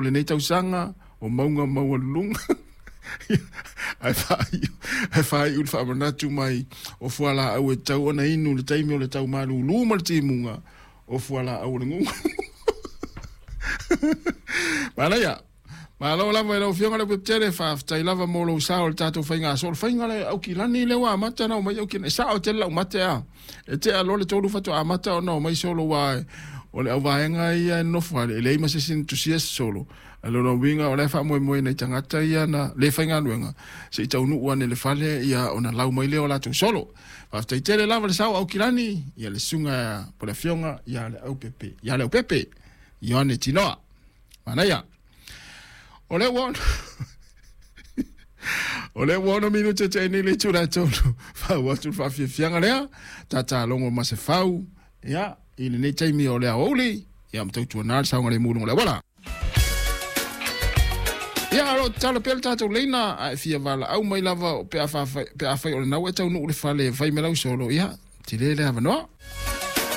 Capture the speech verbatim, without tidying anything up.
Lenei tausaga o mauga maualuluga ae faaiu ae faaiu le faamanatu mai o fualaau e tatau ona inu i le taimi o le tau malūlū ma le timuga o fualaau o le gugu. Manaia. Malo lava i lau Afioga le Pepetele, faafetai lava mo lou sao i le tatou faiga so. O le faiga le Aukilani lea ua amata ona omai Aukilani. E sao tele lau mate a. E tea loa le tolu faatoa amata ona omai solo ua o le auvaega ia e nofo ale e leai ma se isi na tusia se solo. A lona uiga o la e faamoemoe nai tagata ia na le faigaluega se i taunuu ane i le fale ia ona lau mai lea o latou solo. Faafetai tele lava le sao Aukilani, ia le susuga po le afioga ia le Aupepe. Ia le Aupepe, Ioane Tinoa. Manaia. O lea ua o lea ua ono minute te nei le itula e tolu. Fau atu le faafiafiaga lea. Tatalogo ma se fau. Ia, i lenei taimi o le aoauli. Ia, ma tautuana le saogalemu i luga o le auala. Ia, o lo o tatalo pea le tatou leina, a e fia valaau mai lava pe a, pe afai o lena ua e taunuu i le fale e fai mai lau solo, ia, tele le avanoa.